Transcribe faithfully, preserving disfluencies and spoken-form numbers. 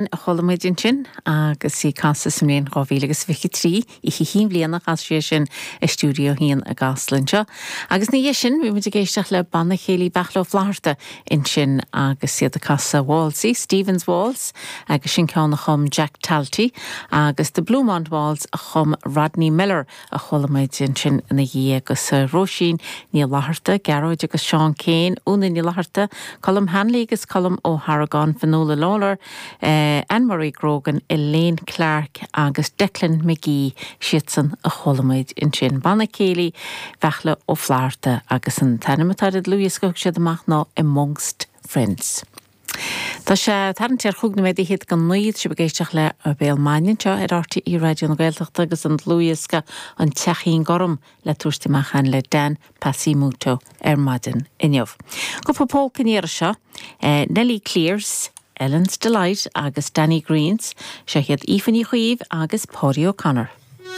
A chuala muid ansin agus í ag casadh sa mbliain dhá mhíle agus fiche trí, oíche chinn bhliana a chas sí é sin i Stiúideo a haon i gCasla anseo. Agus ina dhiaidh sin bhí muid ag éisteacht le Banna Céilí Bheartla Ó Flatharta ansin agus iad ag casadh Waltz, Stephen's Waltz agus sin ceann a chum Jack Talty agus The Bluemont Waltz a chum Rodney Miller a chuala muid ansin ina dhiaidh agus Róisín Ní Fhlatharta, Gearóid agus Seán Keane, Úna Ní Fhlatharta, Colm Hanley agus Colm Ó hArgáin, Fionnuala Lawlor, eh, Anne-Marie Grogan, Elaine Clark agus Declan McGee siadsan a chuala muid ansin. Banna Céilí Bheartla Ó Flatharta agus an t-ainm atá ar an dlúthdhiosca a thug siad amach ná Amongst Friends. Tá sé tarraingt ar chúig nóiméad fhichead go naoi sibh ag éisteacht le Béal Maidine anseo ar RTÉ Raidió na Gaeltachta agus an dlúthdhiosca An Teachín Gorm le tabhairt amach againn le Dan Passi Muto ar maidin inniu. Cúpla polca an iarraidh seo, eh, Nellie Clears, Ellen's Delight agus Danny Greens, seo iad Aoife Ní Chaoimh agus Paudie O'Connor.